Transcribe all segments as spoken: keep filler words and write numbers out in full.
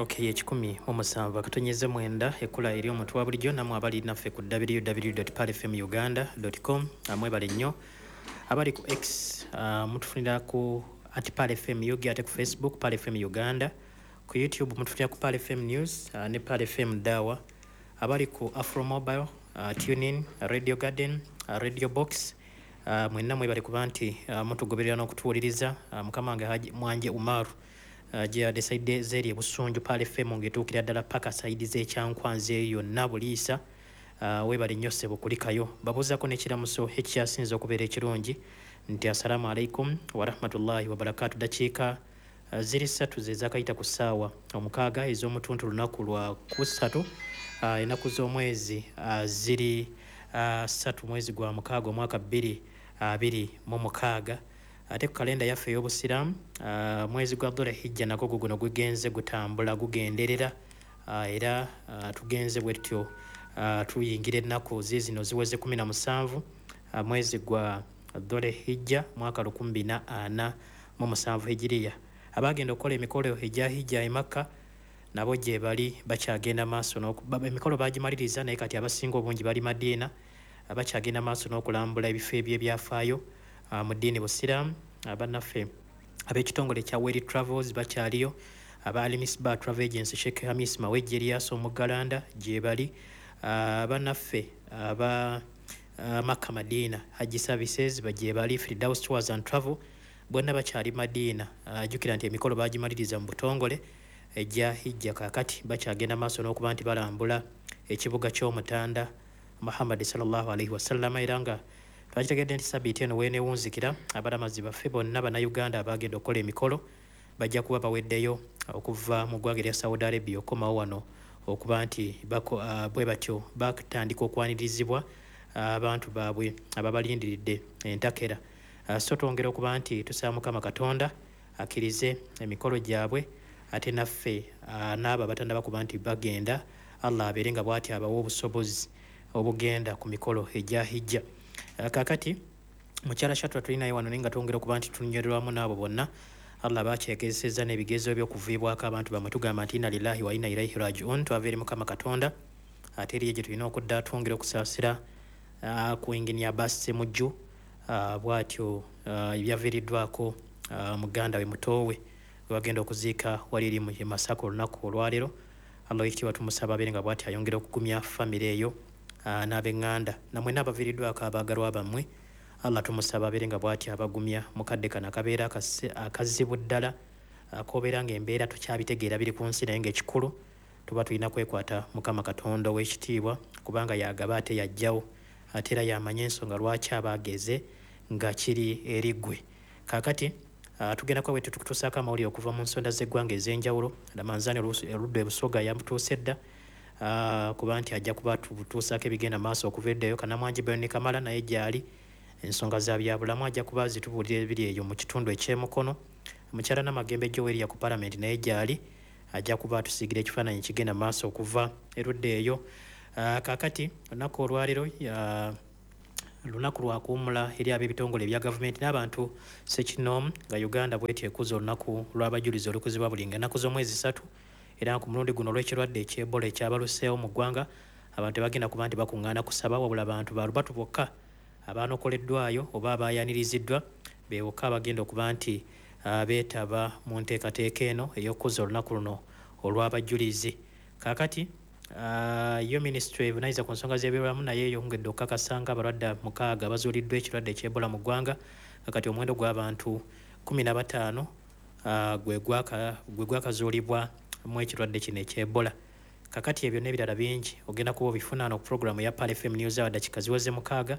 Okay, ekikumi mu musanvu akatonyeze mwenda ekkula eri omuntu wa bulijjo. Namwe abali naffe ku w w w palfm uganda com, mwebale nnyo. Abali ku X, uh, mutufunira ku at Pearl F M U G, ate ku Facebook Pearl F M Uganda, ku YouTube mutufunira ku Pearl F M News uh, ne Pearl F M Dawa. Abali ku Afro Mobile, uh, TuneIn, Radio Garden, uh, Radio Box, uh, mwenna mwebale kuba nti uh, mutugoberera n'okutuwuliriza. uh, mukama wange Haji Mwanje Umaru, uh, gyeyadde side zeri ebusunju, Pearl F M ng'etuukira ddala paka side z'ekyankwanzi eyo yonna buliisa. uh, webale nnyo ssebo kulikayo. Babuuzaako n'ekiramuso ekyasinze okubeera ekirungi nti assalamu alaikum warahmatullahi wabarakatu. Dakiika uh, ziri ssatu ze zakayita ku ssaawa omukaaga ez'omutuntu, lunaku lwa kusatu, uh, ennaku z'omwezi uh, ziri uh, ssatu mwezi gwa mukaaga omwaka bbiri abiri mu mukaaga. Ate ku kalenda yaffe ey'obusiraamu, uh, mwezi gwa Dhul Hijja nagwo guguno gugenze gutambula gugenderera, uh, era uh, tugenze bwe tutyo, uh, tuyingira ennaku ziizino ziweze kumi na musanvu, uh, mwezi gwa Dhul Hijja mwaka lukumi bina ana mu musanvu hijiriya. Abagenda okukola emikolo egya hijja e Makka nabo gye bali bakyagenda maaso n'oku- ba- emikolo bagimaliriza, naye kati abasinga obungi bali Madiina, bakyagenda maaso n'okulambula ebifo ebyebyafaayo uh, mu ddiini busiraamu. Bannaffe ab'ekitongole ekya Weri Travels bakyaliyo, aba Alimisba Travel Agency, Sheikh Hamis Mawejje Erias Omugalanda gye bali, uh, bannaffe aba uh, Makka Madina Hajji Services gye bali, Firdaus Tours and Travel bonna bakyali Madiina. Jjukira nti emikolo bagimaliriza mu butongole ejja hijja, kaakati bakyagenda maaso n'okuba nti balambula ekibuga ky'omutanda Muhammadi sallallahu alaihi wasallama. Era nga twakitegedde nti sabiiti eno weenewunzikira, abalamazi baffe bonna Bannayuganda abagenda okukola emikolo bajja kuba baweddeyo okuva mu ggwanga erya Saudi Arabia okukomawo wano okuba nti uh, bwe batyo batandika okwanirizibwa abantu baabwe ababalindiridde entakera. uh, so twongera okuba nti tusaba Mukama Katonda akkirize emikolo gyabwe, ate naffe uh, n'abo abatannaba kuba nti bagenda, Allah abeere nga bw'ati abawa obusobozi obugenda ku mikolo egya hijja. Kaakati mukyala Shatwa tulinayo wano, naye nga twongera okuba nti tunywererwamu n'abo bonna Allah bakyegezesezza n'ebigezo by'okuviibwako abantu bamwe. Tugamba nti inna lillahi wa inna ilaihi rajiun, twava eri Mukama Katonda ate eriyo gye tulina okudda. Twongera okusaasira uh, ku Engineer Abbas Semujju, uh, bw'atyo uh, ebyaviiriddwako uh, muganda we mutoowe webagenda okuziika wali eri mu Masaka olunaku olwaleero. Allah wekitiibwa tumusaba abeere nga bw'ati ayongera okugumya famire eyo uh, n'ab'eŋŋanda namwenna abaviiriddwako abaagalwa bammwe. Allah tumusaba abeere nga bw'ati abagumya mukadde kano akabeera akazibu ddala, kobeera nga embeera tukyabitegeera biri ku nsi, naye ng'ekikulu tuba tulina kwekwata Mukama Katonda ow'ekitiibwa, kubanga yagaba ate yajjawo, ate era yamanya ensonga lwaki aba ageze nga kiri eri ggwe. Kaakati uh, tugenda kuba bwe tukutuusaako amawulire okuva mu nsonda z'eggwanga ez'enjawulo. Lamanzaani oludda ebusoga yamutuuse dda, uh, kuba nti ajja kuba tutuusaako ebigenda maaso okuva eddayo. Kanamwangi Beni Kamala naye gyali, ensonga za byabulamu ajja kuba zitubuulira ebiri eyo mu kitundu ekyemukono. Mukyala Namagembe Joweria ku palamenti naye gyali, ajja kuba atusiigira ekifaananyi kigenda maaso okuva erudda eyo. uh, kaakati olunaku olwaleero uh, lunaku lwakuwummula eri ab'ebitongole ebya gavumenti n'abantu sekinoomu, nga Uganda bwetyo ekuza olunaku lw'abajulizi olukuzibwa buli nga ennaku z'omwezi ssatu. Era ku mulundi guno, olw'ekirwadde eky'Ebola ekyabaluseewo mu ggwanga, abantu tebagenda kuba nti bakuŋŋaana kusaba, wabula abantu balubatu bokka abanokoleddwayo oba abayaniriziddwa be bokka abagenda okuba nti uh, beetaba mu nteekateeka eno ey'okukuza olunaku luno olw'abajulizi. Kaakati uh, yo minisitule evunaanyizibwa ku nsonga z'ebyobulamu naye eyongedde okukakasa nga abalwadde mukaaga bazuuliddwa ekirwadde eky'Ebola mu ggwanga, nga kati omuwendo gw'abantu kumi na bataano uh, gwe gwakazuulibwa mu ekirwadde kino eky'Ebola. Kakati ebyo n'ebirala bingi ogenda kuba obifuna no ku puroguramu ya Pearl F M News Hour. Dakika ziweze mukaaga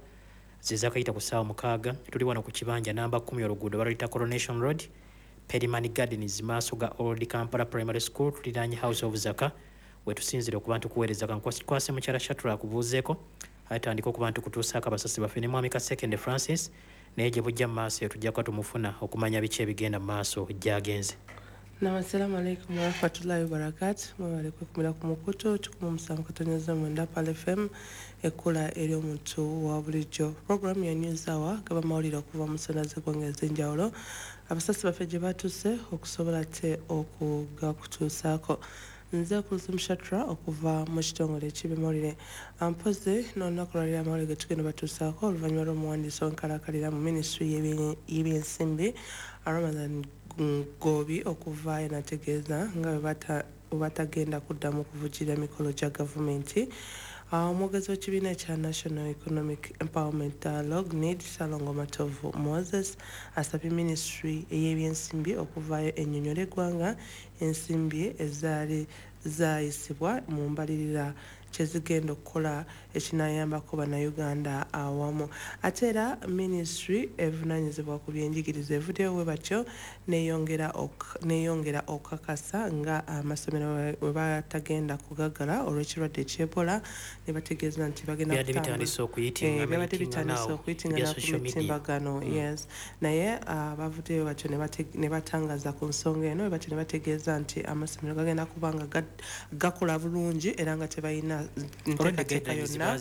zezakayita ku ssaawa mukaaga. Tuli wano ku kibanja namba kumi, oluguudo baluyita Coronation Road, Periman Gardens, maaso ga Old Kampala Primary School, tuliraanye House of Zaka, wetusinzire okuba ntukuweereza. Kankwase mukyala Shatura akubuuzeeko, atandika okuba ntukutuusaako abasasi baffe ne mwami Kasekende Francis, naye gye bujja mu maaso eyo tujja kuba tumufuna okumanya biki ebigenda mu maaso gyagenze. Nam, assalamu alaikum warahmatullahi wabarakatuh. Mwebale kwekumira ku mukutu kikumi musanvu katonyeza mwenda Pal F M, ekkula ery'omuntu wa bulijjo. Program ya News Hour gaba mawulire okuva mu nsonda z'eggwanga ez'enjawulo, abasasi baffe gye batuuse okusobola te okugakutuusaako. Nze Kulthum Shatra okuva mu kitongole eky'ebyamawulire. Mpozi n'olunaku lwaliro amawulire ge tugenda batuusaako oluvannyuma lw'omuwandiisi w'enkalakkalira mu minisitule y'ebyensimbi Ramathan Ggoobi okuvaayo n'ategeeza nga bwe batagenda kuddamu kuvujjirira mikolo gya gavumenti. Omwogezi w'ekibiina ekya National Economic Empowerment Dialogue, NEED, Ssalongo Matovu Moses asabye minisitule ey'ebyensimbi okuvaayo ennyonnyole eggwanga ensimbi ezaali zaayisibwa mu mbalirira kye zigenda okukola ekinayambako Bannayuganda awamu. Ate era minisitule evunaanyizibwa ku byenjigiriza evuddeyo bwe batyo neeyongera okukakasa nga amasomero bwe batagenda kugaggala olw'ekirwadde eky'Ebola, ne bategeeza nti bagenda Byadde bitandise okuyitingana. Byabadde bitandise okuyitingana ku mitimbagano mm. Yes, naye bavuddeyo batyo ne batangaza ku nsonga eno, bwe batyo ne bategeeza nti amasomero gagenda kuba nga gakola bulungi era nga tebalina nteekateeka yonna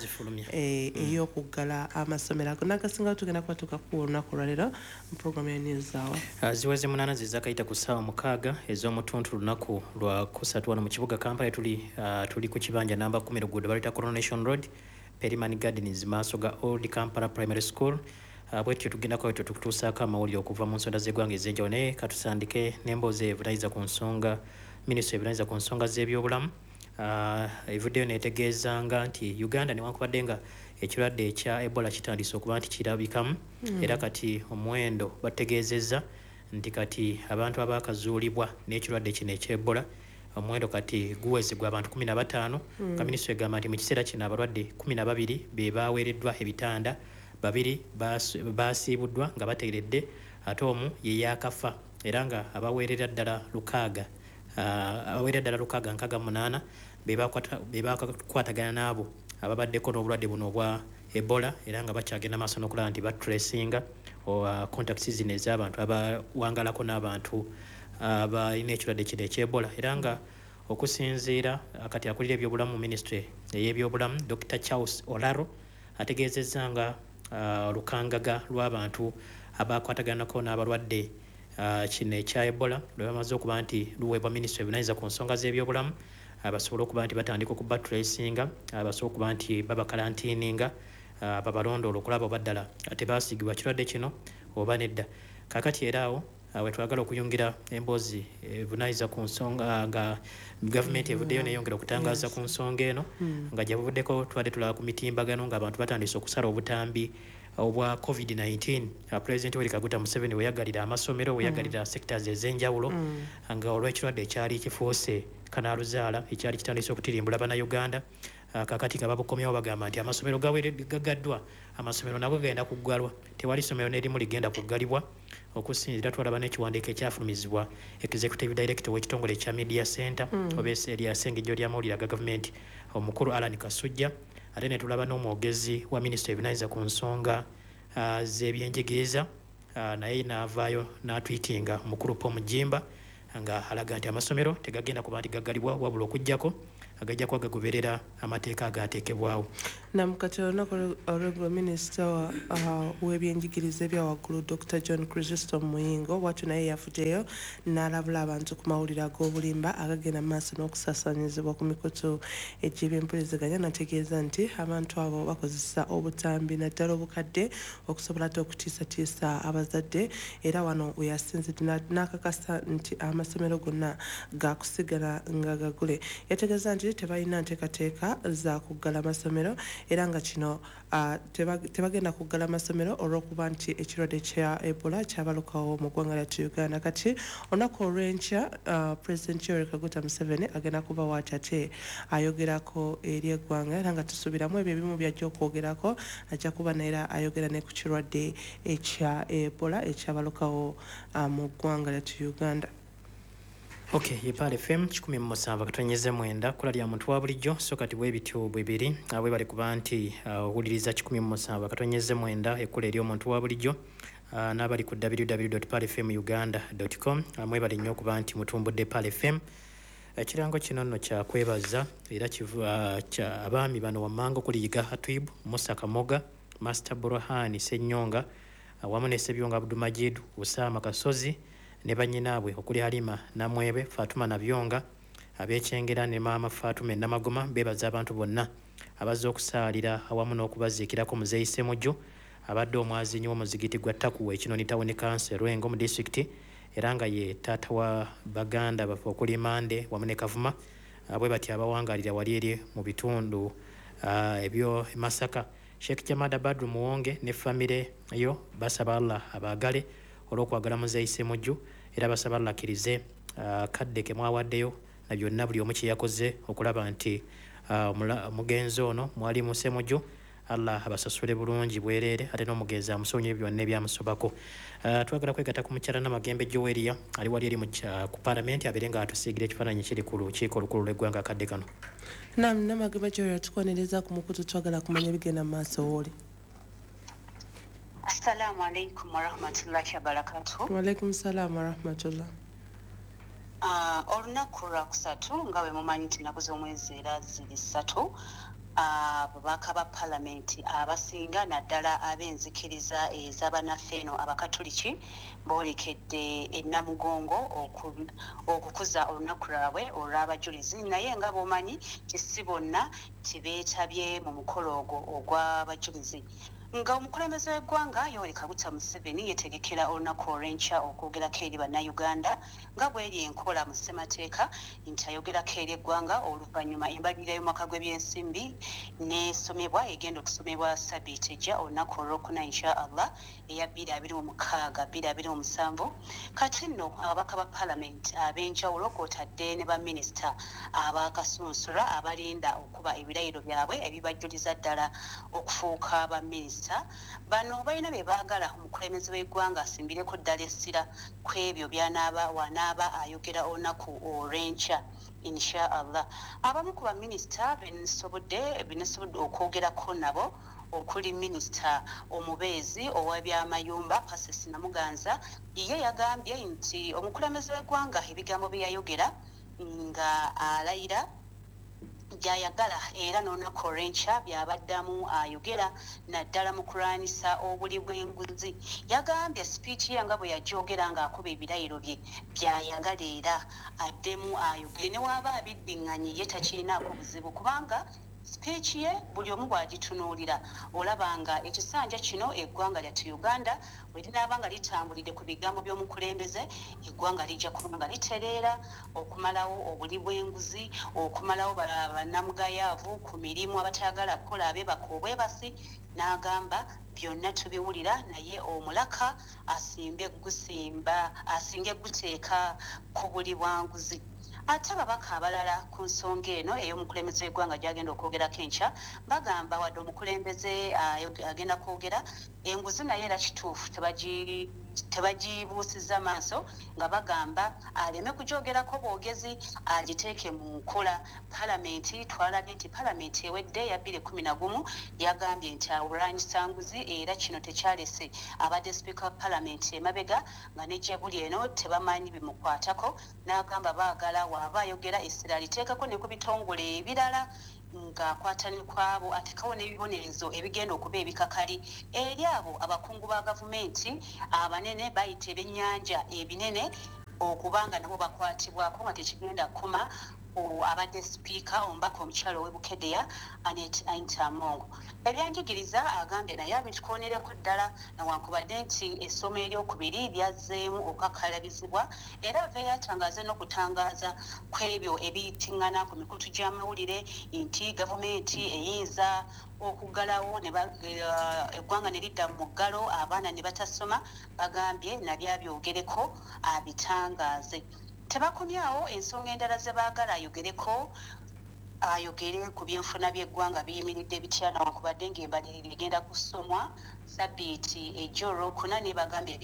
ey'okuggala amasomero ago. Nagasingawo tugenda kuba tukakuwa olunaku olwaleero mu programu ya News Hour. Ziweze munaana zizakayita ku ssaawa mukaaga ez'omutuntu, lunaku lwa kusatu, wano mu kibuga Kampala. Tuli uh, tuli ku kibanja namba kumi, luguudo baluyita Coronation Road, Periman Gardens, maaso ga Old Kampala Primary School. uh, bwetyo tugendako etyo tukutuusaako amawulire okuva mu nsonda z'eggwanga ez'enjawulo, naye katusandike n'emboozi evunayiza ku nsonga minisitule evunayiza ku nsonga z'ebyobulamu uh, evuddeyo netegeezanga nti Uganda, newankubadde nga ekirwadde ekya Ebola kitandise okuba nti kirabikamu mm. era kati omuwendo bategeezezza nti kati abantu abakazuulibwa n'ekirwadde kino eky'Ebola, omuwendo kati guwezebwa abantu kumi na bataano. mm. Nga minisitule egamba nti mu kiseera kino abalwadde kumi na babiri be baweereddwa ebitanda, babiri basiibuddwa nga bateeredde, ate omu ye yaakafa, era nga abaweerera ddala lukaaga abaweerera ddala lukaaga nkaaga munaana be bakwatagana n'abo ababaddeko n'obulwadde buno obwa Ebola, era nga bakyagenda maaso n'okulaba nti batracinga contacts zino ez'abantu abawangalako n'abantu abalina ekirwadde kino eky'Ebola. Era nga okusinziira kati akulira ebyobulamu mu minisitule ey'ebyobulamu, Doctor Charles Olaro, ategeezezza nga olukangaga lw'abantu abakwataganako n'abalwadde kino ekya Ebola lwe bamaze okuba nti luweebwa minisitule evunaanyizibwa ku nsonga z'ebyobulamu, basobole okuba nti batandika okubatracinga, basobole okuba nti babakalantiininga, babalondoola okulaba oba ddala tebasiigibwa kirwadde kino oba nedda. Kaakati era awo wetwagala okuyungira emboozi evunaanyiza ku nsonga nga gavumenti evuddeyo neyongera okutangaaza ku nsonga eno, nga gye buvuddeko tubadde tulaba ku mitimbagano ng'abantu batandise okusala obutambi obwa COVID nineteen. Pulezidenti Yoweri Kaguta Museveni weyagalira amasomero, weyagalira sectors ez'enjawulo, nga olw'ekirwadde ekyali kifuuse kanaaluzaala ekyali kitandise okutirimbula Bannayuganda. Kakati nga babukomyawo, bagamba nti amasomero gagaddwa, amasomero nago gagenda kuggalwa, tewali ssomero n'erimu ligenda kuggalibwa. Okusinziira twalaba n'ekiwandiiko ekyafulumizibwa executive director w'ekitongole ekya Media Center mm. oba erya Ssengejjo ly'amawulire aga gavumenti, omukulu Alan Kasujja, ate ne tulaba n'omwogezi wa minisitule evunaanyizibwa ku nsonga uh, z'ebyenjigiriza, uh, naye n'avaayo n'atwitinga, omukulu Paul Mugimba, nga alaga nti amasomero tegagenda kuba nti gaggalibwa, wabula okugjako agajja kuba gagoberera amateeka agateekebwawo. Nam, kati olunaku olweggulo minisita w'ebyenjigiriza ebya waggulu, Doctor John Chrysostom Muyingo, bwatyo naye yavuddeyo n'alabula abantu ku mawulire ag'obulimba agagenda mu maaso n'okusaasaanyizibwa ku mikutu egy'ebyempuliziganya, n'ategeeza nti abantu abo bakozesa obutambi naddala obukadde okusobola ate okutiisatiisa abazadde. Era wano we yasinzidde n'akakasa nti amasomero gonna gakusigala nga gagule. Yategeeza nti tebalina nteekateeka za kuggala amasomero, era nga kino uh, tebagenda kuggala amasomero olw'okuba nti ekirwadde kya Ebola kyabalukawo mu ggwanga lyattu Uganda. Kati olunaku olw'enkya uh, President Yoweri Kaguta Museveni agenda kuba waati ate ayogerako eri eggwanga, era nga tusuubiramu ebyo ebimu byajja okwogerako, ajja kuba neera ayogera ne ku kirwadde ekya Ebola ekyabalukawo uh, mu ggwanga lyattu Uganda. Ok, ye Pal F M kikumi mu musanvu akatonyeze mwenda, kula lya muntu wa bulijjo. So kati bwe bityo bwe biri, bwe bali kuba nti owuliriza kikumi mu musanvu akatonyeze mwenda, ekkula eri omuntu wa bulijjo. uh, n'abali ku w w w dot pearl f m uganda dot com. Uh, mwebale nnyo okuba nti mutumbudde Pearl F M. Ekirango kino nno kya kwebaza era kivu, uh, kya abaami bano wammanga okuli Yiga Hatwib, Musa Kamoga, Master Burhani Ssenyonga awamu ne Ssebyonga Abdulmajid, Usama Kasozi ne bannyinaabwe okuli Halima Namwebe, Fatuma Nabyonga, ab'Ekyengera ne Maama Fatuma Namagoma. Beebaza abantu bonna abazze okusaalira awamu n'okubaziikirako Muzeeyi Ssemujju abadde omwazinyi w'omuzigiti gwa Takuwa Ekinoni Town Council Lwengo mu disitulikiti, era nga ye taata wa baganda baffe okuli Mande wamu ne Kavuma, bwe batyo abawangaalira wali eri mu bitundu ebyo Masaka. Sheikh Jamada Badru Muwonge ne famire yo basaba Allah abaagale olw'okwagala Muzeeyi Ssemujju, era basaba Allah akkirize kadde ke mwawaddeyo na byonna buli omu kye yakoze okulaba nti omugenzi ono Mwalimu Ssemujju Allah abasasule bulungi bwereere, ate n'omugenzi amusonyiwe byonna ebyamusobako. Twagala kwegatta ku mukyala Namagembe Joweria ali wali eri ku paalamenti abeere ng'atusiigira ekifaananyi kiri ku lukiiko olukulu lw'eggwanga akadde kano. Naam, Namagembe Joweria, tukwaniriza ku mukutu, twagala kumanya ebigenda mu maaso wooli. Assalamu alaikum warahmatullahi wabarakatuh. Wa alaikum salaam warahmatullah. Uh, olunaku lwakusatu nga bwe mumanyi nti ennaku z'omwezi era ziri ssatu, ababaka ba paalamenti abasinga naddala ab'enzikiriza ez'abannaffe eno abakatoliki boolekedde e Namugongo okukuza olunaku lwabwe olw'abajulizi, naye nga bw'omanyi nti si bonna tibeetabye mu mukolo ogwo ogw'abajulizi. Nga omukulembeze w'eggwanga Yoweri Kaguta Museveni yeetegekera olunaku olw'enkya okwogerako eri bannayuganda nga bw'eri enkola mu ssemateeka nti ayogerako eri eggwanga oluvannyuma embalirira y'omwaka gw'ebyensimbi n'esomebwa egenda okusomebwa ssabbiiti ejja olunaku olwokuna insha Allah eya bbiri abiri mu mukaaga bbiri abiri mu musanvu. Kati nno ababaka ba paalamenti ab'enjawulo kw'otadde ne baminisita abakasunsula abalinda okuba ebirayiro byabwe ebibajjuliza ddala okufuuka baminisita. Bano balina bye baagala omukulembeze w'eggwanga asimbireko ddala essira ku ebyo by'anaaba wanaaba ayogera olunaku olw'enkya insha Allah. Abamu ku baminisita bensobodde bensobodde okwogerako nabo okuli minisita omubeezi ow'ebyamayumba Persis Namuganza, ye yagambye nti omukulembeze w'eggwanga ebigambo bye yayogera nga alayira gy'ayagala era n'olunaku olw'enkya by'abaddamu ayogera naddala mu kulwanyisa obuli bw'enguzi. Yagambye sipiiki ye nga bwe yagyogera ng'akuba ebirayiro bye by'ayagala era addemu ayogere ne waaba abiddiŋŋanye ye takirinaako buzibu kubanga sipiiki ye buli omu bw'agitunuulira olaba nga ekisanja kino eggwanga lyattu Uganda bwe linaaba nga litambulidde ku bigambo by'omukulembeze, eggwanga lijja kuba nga litereera okumalawo obuli bw'enguzi, okumalawo bannamugayaavu ku mirimu abatayagala kukola abeebaka obwebasi. N'agamba byonna tubiwulira naye omulaka asimbe gusimba asinge guteeka ku buli bwanguzi. Ate ababaka abalala ku nsonga eno ey'omukulembeze w'eggwanga gy'agenda okwogerako enkya bagamba wadde omukulembeze agenda kwogera enguzi naye era kituufu tebagibuusizza maaso, nga bagamba aleme kugyogerako bwogezi agiteeke mu nkola. Paalamenti twalabye nti paalamenti ewedde ya bbiri kkumi na gumu yagambye nti awulwanyisa nguzi era kino tekyalese abadde sipiika wa paalamenti emabega nga ne gye buli eno tebamanyi bimukwatako. N'agamba baagala waaba ayogera essira aliteekako ne ku bitongole ebirala ng'akwata ne kwabo ateekawo n'ebibonerezo ebigenda okuba ebikakali eri abo abakungu ba gavumenti abanene bayita ebyennyanja ebinene okubanga nabo bakwatibwako nga tekigenda kukoma abadde sipiika omubaka omukyala ow'e Bukedea Annet Anita Among. Ebyanjigiriza agambye naye abitukonereko ddala newankubadde nti essomo eryokubiri lyazzeemu okukakalabizibwa, era aveeyo atangaaze n'okutangaaza ku ebyo ebiyitiŋŋana ku mikutu gy'amawulire nti gavumenti eyinza okuggalawo eggwanga ne lidda mu muggalo abaana ne batasoma. Bagambye nabyo abyogereko abitangaaze. Tebakomyawo ensonga endala ze baagala ayogereko Ayogere ku byenfuna by'eggwanga biyimiridde bitya, newankubadde ng'embalirira egenda kusomwa sabbiiti ejjo olwokuna, ne bagambye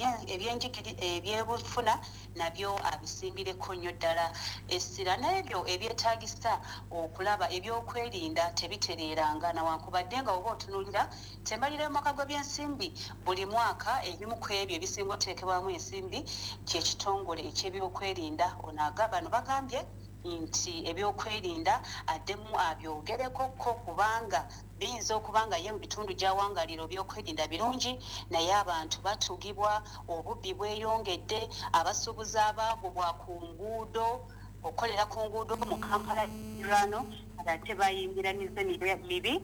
ebyebufuna nabyo abisimbireko nnyo ddala essira, n'ebyo ebyetaagisa okulaba ebyokwerinda tebitereeranga, newankubadde nga oba otunuulira tembalira y'omwaka gw'ebyensimbi buli mwaka ebimu ku ebyo ebisinga oteekebwamu ensimbi ky'ekitongole eky'ebyokwerinda. Ono bano bagambye nti ebyokwerinda addemu abyogereko ko, kubanga biyinza okuba nga ye mu bitundu gy'awangalira ebyokwerinda birungi, naye abantu batugibwa, obubbi bweyongedde, abasuubuzi abaagobwa ku nguudo, okukolera ku nguudo mu Kampala rano ate bayingira mize mibi,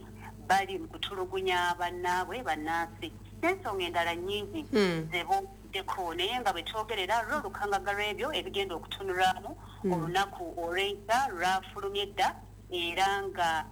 bali mu kutulugunya bannaabwe bannansi n'ensonga endala nnyingi zeboddeko. Naye nga bwe twogerera lwo olukangaga lw'ebyo ebigenda okutunulwamu olunaku olw'enkya lwafulumye dda, era nga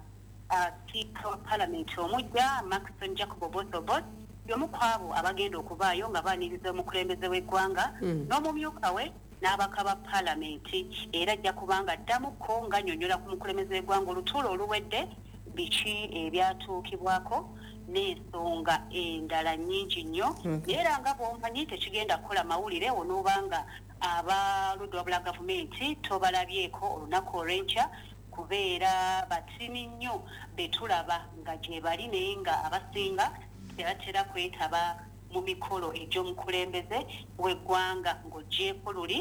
sipiika wa Palamenti omujja Maxon Jacob Oboth y'omu ku abo abagenda okubaayo nga baaniriza omukulembeze w'eggwanga n'omumyuka we n'ababaka ba Palamenti, era ajja kubanga addamuko ng'annyonnyola ku mukulembeze w'eggwanga olutuula oluwedde biki ebyatuukibwako n'ensonga endala nnyingi nnyo. Naye era nga bw'omanyi tekigenda kukola mawulire onoobanga abaludde wabula gavumenti tobalabyeko olunaku olw'enkya, kubeera batini nnyo betulaba nga gye bali, naye nga abasinga tebatera kwetaba mu mikolo egy'omukulembeze w'eggwanga ng'oggyeeko luli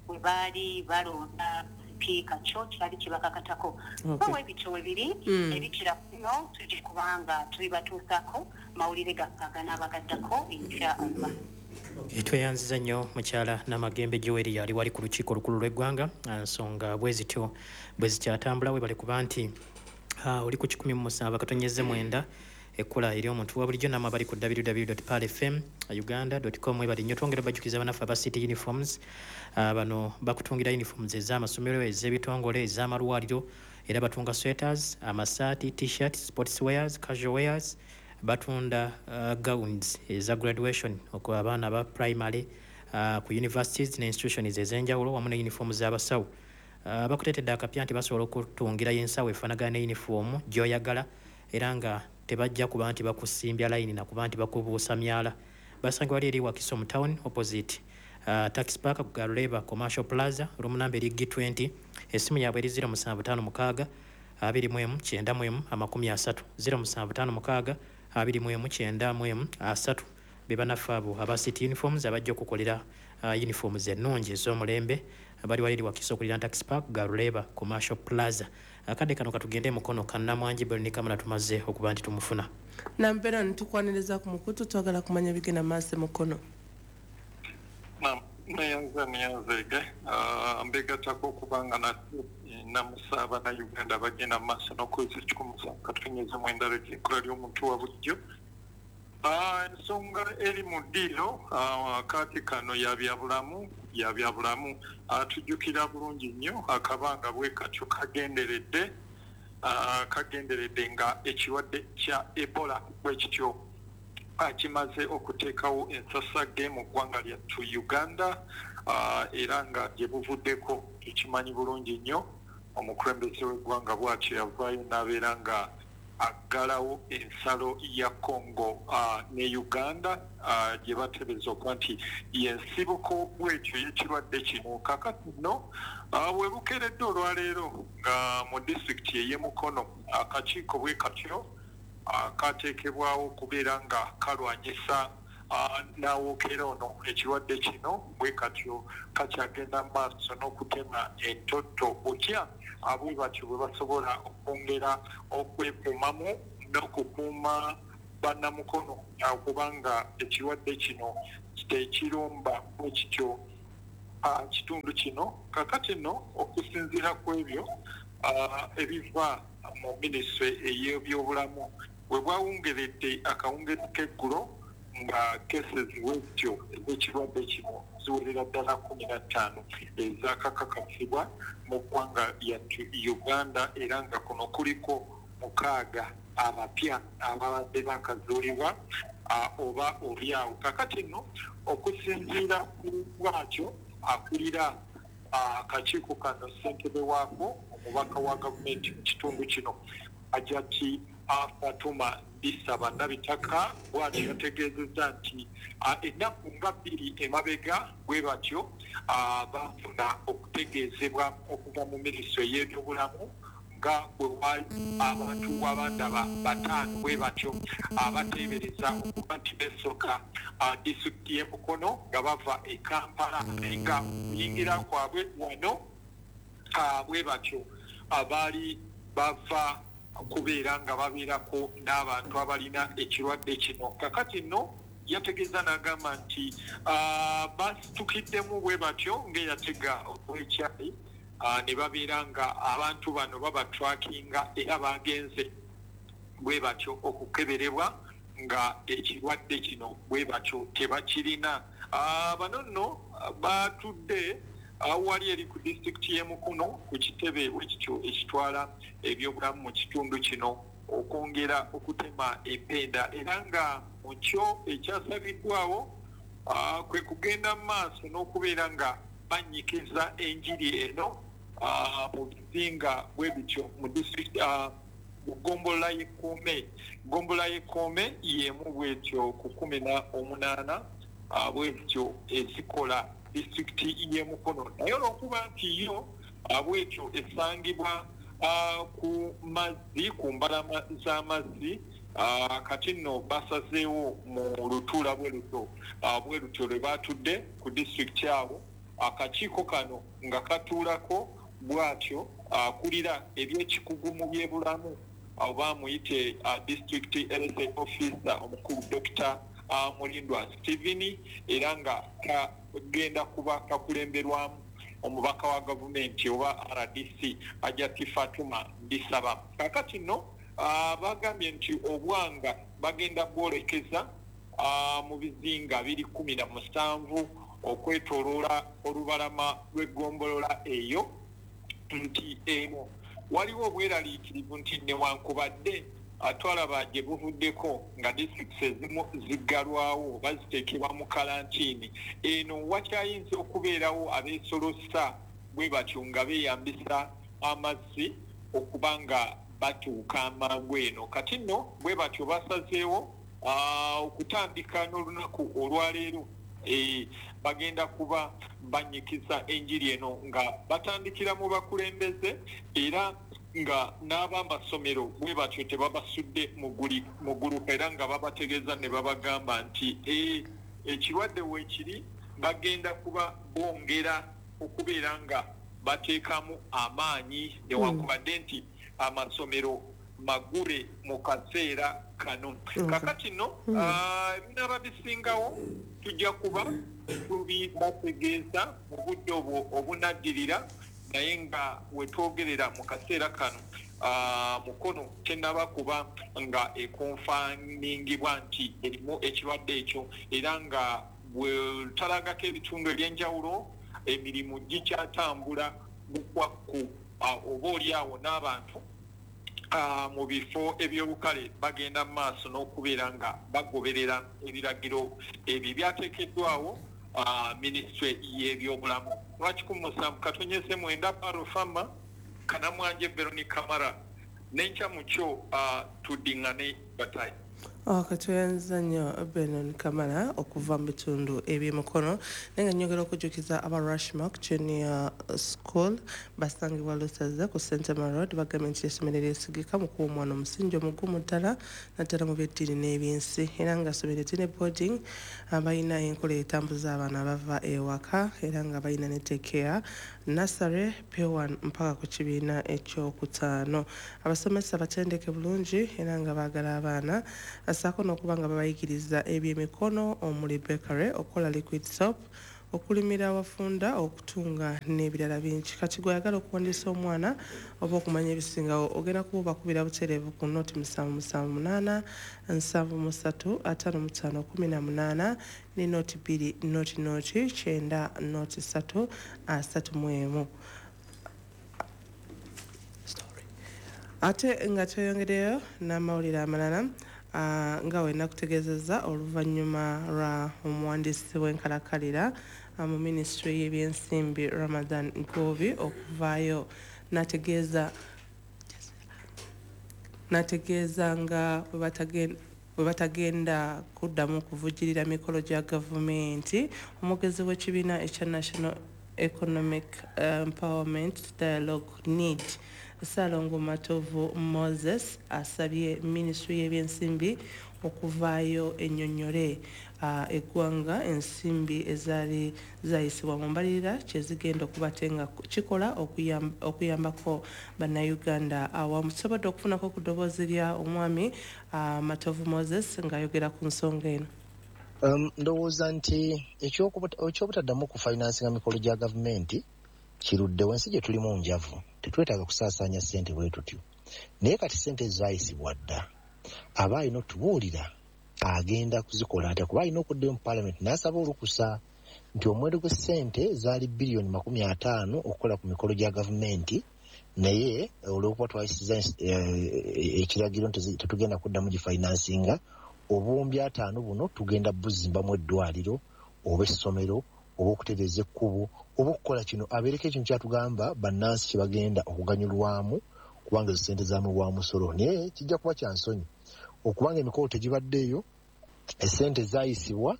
bwe baali balonda sipiika, kyo kyali kibakakatako. So ebityo we biri ebikira kuno tujja kubanga tubibatuusaako mawulire gaffe aganaabagaddako insha Allah. Tweyanziza nnyo mukyala Namagembe Joel yali wali ku lukiiko olukulu lw'eggwanga. Nsonga bwe zityo bwe zikyatambula, webale kuba nti oli ku kikumi mu musanvu akatonyeze mwenda ekkula eri omuntu wa bulijjo, namwe abali ku w w w dot pearl f m uganda dot com webale nnyo. Twongera bajjukiza bannaffe aba City Uniforms, bano bakutungira uniforms ez'amasomero, ez'ebitongole, ez'amalwaliro, era batunga sweaters, amasaati, t-shirts, sports wears, casual wears, batunda uh, gowns eza graduation okwa abaana aba primary uh, ku universities ne institutions ez'enjawulo, wamu ne uniform z'abasawo. Uh, bakuteetedde akapya nti basobola okutungira ensawo efaanagana ne uniform gy'oyagala, era nga tebajja kuba nti bakusimbya layini na kuba nti bakubuusa myala. Basangibwa wali eri Wakiso mu town opposite uh, Tax Park ku Garuleba Commercial Plaza, room number eri G twenty, essimu yaabwe eri zero musanvu ttaano mukaaga abiri mu emu kyenda mu emu amakumi asatu, zero musanvu ttaano mukaaga abiri mu emu kyenda mu emu asatu. Be bannaffe abo aba City Uniforms abajja okukolera uh, uniforms ennungi ez'omulembe, bali wali eri Wakiso okulira Tax Park Garuleba Commercial Plaza. Akadde kano katugende mukono Kannamwangi Bernice Kamala tumaze okuba nti tumufuna. Nambeera ntukwaniriza ku mukutu, twagala kumanya bigenda maaso mukono. Neyanza neyanzege mbegattako okubanga namusa abannayuganda bagenda mu maaso n'okwezi ekikumi musanvu katunyeze mwenda ekkula ly'omuntu wa bulijjo. Ensonga eri mu ddiiro kaati kano ya byabulamu ya byabulamu tujjukira bulungi nnyo akabanga bwe katyo kagenderedde kagenderedde nga ekirwadde kya Ebola bwe kityo kimaze okuteekawo ensasagge mu ggwanga lyattu Uganda, era nga gye buvuddeko tukimanyi bulungi nnyo omukulembeze w'eggwanga bw'atyo yavaayo n'abeera nga aggalawo ensalo ya Congo uh, ne Uganda uh, gye bateebereza okuba nti y'ensibuko bwetyo y'ekirwadde kino. Kaakati nno uh, bwe bukeeredde olwaleero nga mu disitulikiti ey'e Mukono akakiiko bwe katyo uh, kateekebwawo okubeera nga kalwanyisa uh, n'awookera ono ekirwadde kino bwe katyo kakyagenda mu maaso n'okutema entotto butya abo batyo bwe basobola okwongera okwekuumamu n'okukuuma bannamukono kubanga ekirwadde kino tekirumba bwe kityo kitundu kino. Kaakati nno okusinziira ku ebyo ebiva mu minisitule ey'ebyobulamu bwe bwawungeredde akawungezi k'eggulo nga cases bwetyo ez'ekirwadde kino ziwerera ddala kkumi na ttaano ezaakakakasibwa mu ggwanga lyattu Uganda, era nga kuno kuliko mukaaga abapya ababadde bakazuulibwa oba oli awo. Kaakati nno okusinziira ku bwatyo akulira Akakiiko kano ssentebe waako omubaka wa gavumenti mu kitundu kino Hajati Fatuma Ndisaba Nabitaka bw'atyo yategeezezza nti ennaku nga bbiri emabega bwe batyo bafuna okutegeezebwa okuva mu minisitule y'ebyobulamu nga bwe wali abantu abandaba bataano bwe batyo abateebereza okuba nti beesoka disitulikiti y'e Mukono nga bava e Kampala, nga okuyingira kwabwe wano bwe batyo abaali bava kubeera nga babeerako n'abantu abalina ekirwadde kino. Kakati nno yategeeza n'agamba nti basitukiddemu bwe batyo ng'eyatega obwekyayi ne babeera nga abantu bano babatrackinga era bagenze bwe batyo okukeberebwa nga ekirwadde kino bwe batyo tebakirina. Bano nno batudde awali eri ku disitulikiti y'e Mukono ku kitebe bwekityo ekitwala ebyobulamu mu kitundu kino okwongera okutema empenda, era nga mu kyo ekyasabiddwawo kwe kugenda mu maaso n'okubeera nga banyikiza enjiri eno mu bizinga bwe bityo mu disitulikiti mu ggombolola y'e Kkoome. Ggombolola y'e Kkoome y'emu bwetyo ku kkumi na omunaana bwe bityo ezikola disitulikiti y'e Mukono, naye olw'okuba nti yo bwetyo esangibwa ku mazzi ku mbalama z'amazzi, kati nno basazeewo mu lutuula bwe lutyo bwe lutyo lwe batudde ku disitulikiti awo. Akakiiko kano nga katuulako bw'atyo akulira ebyekikugu mu byebulamu oba muyite district health officer omukulu Dokita Mulindwa Stephen, era nga kagenda kuba kakulemberwamu omubaka wa gavumenti oba R D C Hajati Fatuma Ndisaba. Kakati nno bagambye nti obwanga bagenda bwolekeza mu bizinga biri kkumi na musanvu okwetooloola olubalama lw'eggombolola eyo, nti eno waliwo obweraliikirivu nti newankubadde twalaba gye buvuddeko nga disitulikiti ezimu ziggalwawo oba ziteekebwa mu kalantiini, eno wakyayinza okubeerawo abeesolosa bwe batyo nga beeyambisa amazzi okuba nga batuuka amangu eno. Kati nno bwe batyo basazeewo okutandika n'olunaku olwaleero e, bagenda kuba banyikiza enjiri eno nga batandikira mu bakulembeze, era nga n'abamasomero bwe batyo tebabasudde muguluka, era nga babategeeza ne babagamba nti e, ekirwadde weekiri bagenda kuba bongera okubeera nga bateekamu amaanyi newankubadde nti amasomero magule mu kaseera kano. Kakati nno ebinaaba bisingawo tujja kuba tubibategeeza mu budde obwo obunaddirira, naye nga wetwogerera mu kaseera kano Mukono tennaba kuba nga ekonfaningibwa nti erimu ekirwadde ekyo, era nga bwe talagako ebitundu ebyenjawulo emirimu gikyatambula bukwakku oba oli awo n'abantu mu bifo eby'olukale bagenda mu maaso n'okubeera nga bagoberera ebiragiro ebyo byateekeddwawo minisitule y'ebyobulamu. Lwakikumi musanvu katonyeze mwenda Parofama Kanamwanje Veronica Mara n'enkya mu kyo tuddiŋŋane batayi. Katweyanza nnyo Benon Kamara okuva mu bitundu eby'Emukono, naye nga nnyongera okujjukiza aba Rushmark Junior School basangibwa Lusaza ku Sentema Road, bagambye nti essomero eryesigika mu kuwa omwana omusingi omugumu ddala naddala mu by'eddiini n'ebyensi, era nga ssomero erine boarding, balina enkola etambuza abaana abava ewaka, era nga balina ne daycare, nursery, P one mpaka ku kibiina ekyokutaano. Abasomesa batendeke bulungi era nga baagala abaana asaako n'okuba nga babayigiriza ebyemikono omuli bakery, okukola liquid soap, okulimira awafunda, okutunga n'ebirala bingi. Kati gw'oyagala okuwandiisa omwana oba okumanya ebisingawo ogenda kuba obakubira butereevu ku noti musanvu musanvu munaana nsanvu mu ssatu ataano mu ttaano kumi na munaana ne noti bbiri noti noti kyenda noti ssatu asatu mu emu. Ate nga tweyongereyo n'amawulire amalala, Uh, nga we nakutegeezezza oluvannyuma lwa omuwandiisi w'enkalakalira uh, mu minisitule y'ebyensimbi Ramadan Ggoobi okuvaayo n'ategeeza n'ategeeza nga bwe batagen- bwe batagenda kuddamu kuvujjirira mikolo gya gavumenti. Omwogezi w'ekibiina ekya National Economic Empowerment Dialogue N E E D, Ssalongo Matovu Moses, asabye minisitule y'ebyensimbi okuvaayo ennyonnyole uh, eggwanga ensimbi ezaali zayisibwa mu mbalirira kyezigenda okuba te nga kikola okuyam- okuyambako Bannayuganda. Awamu tusobodde okufunako ku ddoboozi lya omwami uh, Matovu Moses ng'ayogera ku nsonga eno. Um, ndowooza nti ekyokubuta- ekyobutaddamu kufinansinga mikolo gya gavumenti kiruddewo. Ensi gye tulimu njavu, tetwetaaga kusaasaanya ssente bwe tutyo. Naye kati ssente zaayisibwa dda, aba alina otubuulira agenda kuzikola atya, kuba alina okuddayo mu paalamenti n'asaba olukusa nti omuwendo gw'essente zaali biliyoni makumi ataano okukola ku mikolo gya gavumenti, naye olw'okuba twayisiza eh, ekiragiro nti tetugenda kuddamu gifinansinga, obuwumbi ataano buno tugenda buzimbamu eddwaliro oba essomero oba okutereeza ekkubo oba okukola kino. Abeereko ekintu kyatugamba bannansi kye bagenda okuganyulwamu, kubanga ezo sente zamuwa musolo. Naye kijja kuba kya nsonyi okubanga emikolo tegibaddeeyo, esente zaayisibwa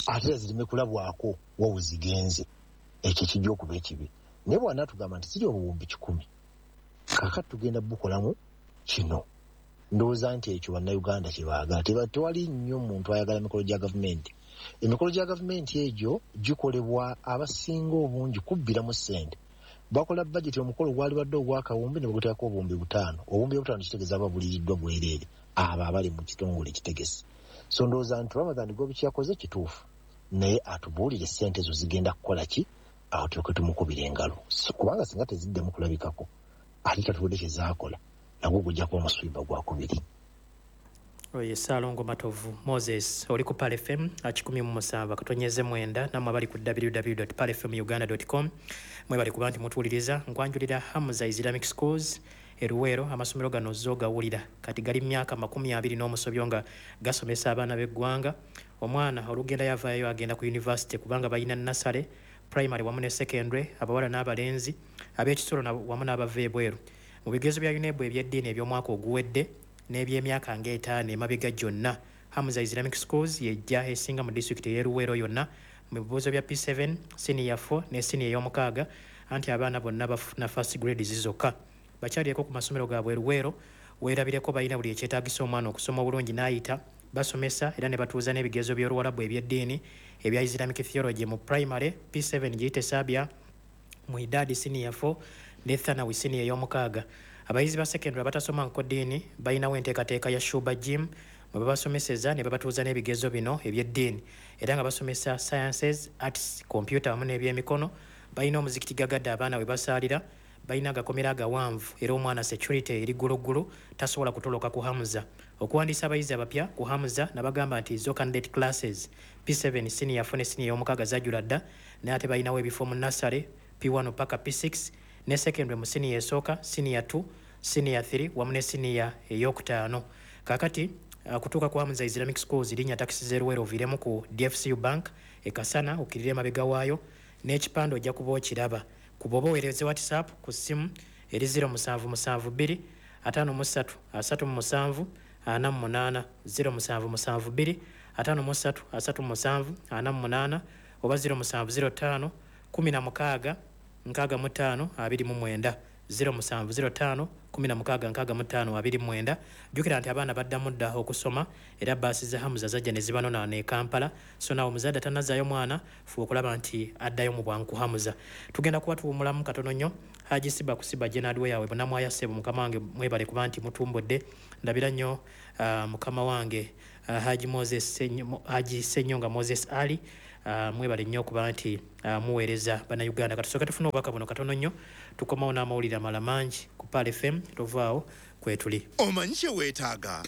ate era zireme kulabwako wa we zigenze. Ekyo kijja okuba ekibi. Naye bw'anaatugamba nti ziri obuwumbi kikumi, kaakati tugenda bukolamu kino, ndowooza nti ekyo Bannayuganda kye baagala. Teba- tewali nnyo muntu ayagala mikolo gya gavumenti. Emikolo gya gavumenti egyo gikolebwa abasinga obungi kubbiramu ssente. Bakola bajeti, omukolo gwali badde ogwakawumbi ne baguteekako obuwumbi butaano. Obuwumbi obutaano kitegeeza aba buliriddwa bwereere abo abali mu kitongole ekitegesi. So ndowooza nti Ramadan Ggoobi kyeyakoze kituufu, naye atubuulire ssente ezo zigenda kukola ki, awo tulyoke tumukubira engalo. So, kubanga singa teziddemu kulabikako ate tatuwudde kyezaakola, nagwo gujja kuba muswiba gwakubiri. Oyo Ssaalongo Matovu Moses. Oli ku Pearl F M kikumi mu musanvu akatonyeze mwenda, nammwe abali ku W W W palfm uganda com, mwebali kuba nti mutuwuliriza. Nkwanjulira Hamza Islamic Schools eruweero. Amasomero gano zo gawulira kati gali myaka makumi abiri n'omusobyo nga gasomesa abaana b'eggwanga. Omwana olugenda yavaayo agenda ku university, kubanga balina nursery, primary wamu ne secondary, abawala n'abalenzi, ab'ekisulo na- wamu n'abava ebweru. Mu bigezo bya UNEB ebyeddiini eby'omwaka oguwedde n'ebyemyaka ng'etaano emabega gyonna, Hamza Islamic Schools yejja esinga mu disitulikiti ey'eruweero yonna mu bibuuzo bya P seven, siniya four ne siniya ey'omukaaga, anti abaana bonna bafuna first grades zokka. Bakyalireko ku masomero gaabwe eruweero weerabireko. Balina buli ekyetaagisa omwana okusoma obulungi n'ayita. Basomesa era ne batuuza n'ebigezo by'Oluwalabu ebyeddiini ebya Islamic theology mu primary P seven, giyite Sabia, mu Idaadi siniya four ne Thanawi siniya ey'omukaaga. Abayizi ba secondary abatasoma nkoddiini balinawo enteekateeka ya Shuba Gym mwe babasomeseza ne babatuuza n'ebigezo bino ebyeddiini, era nga basomesa sciences, arts, computer wamu n'ebyemikono. Balina omuzikiti gagadde abaana we basaalira. Balina agakomera agawanvu era omwana security eri gguluggulu, tasobola kutoloka ku Hamza. Okuwandiisa abayizi abapya ku Hamza, nabagamba nti zo candidate classes P seven, siniya four ne siniya ey'omukaaga zajjula dda, naye ate balinawo ebifo mu nursery P one paka P six ne secondary mu siniya esooka, siniya two, siniya three wamu ne siniya eyokutaano. Kaakati uh, kutuuka ku Hamza Islamic Schools, linnya takisi z'eruweero oviiremu ku D F C U Bank ekasana, okkirire emabega waayo n'ekipande ojja kuba okiraba. Ku bw'oba oweereze WhatsApp ku ssimu eri zero musanvu musanvu bbiri ataano mu ssatu asatu mu musanvu ana mu munaana, zero musanvu musanvu bbiri ataano mu ssatu asatu mu musanvu ana mu munaana, oba zero musanvu zero ttaano kumi na mukaaga nkaaga mu ttaano abiri mu mwenda, zero musanvu zero ttaano kumi na mukaaga nkaaga mu ttaano abiri mu mwenda. Jjukira nti abaana baddamu dda okusoma, era baasi za Hamza zajja ne zibanonaana e Kampala. So naawe omuzadde atannazaayo mwana, fuba okulaba nti addayo mu bwangu ku Hamza. Tugenda kuba tuwumulamu katono nnyo. Haji Siba kusiba Jenadwe yawe bunamwaya ssebo, mukama wange, mwebale kuba nti mutumbudde. Ndabira nnyo uh, mukama wange uh, Haji Moses Senyo, Haji Senyonga Moses Ali, uh, mwebale nnyo okuba nti uh, muweereza Bannayuganda. Katusooke tufune obubaka buno katono nnyo, tukomawo n'amawulire amala mangi ku Pearl F M. Tovaawo, kwetuli. Omanyi kye weetaaga.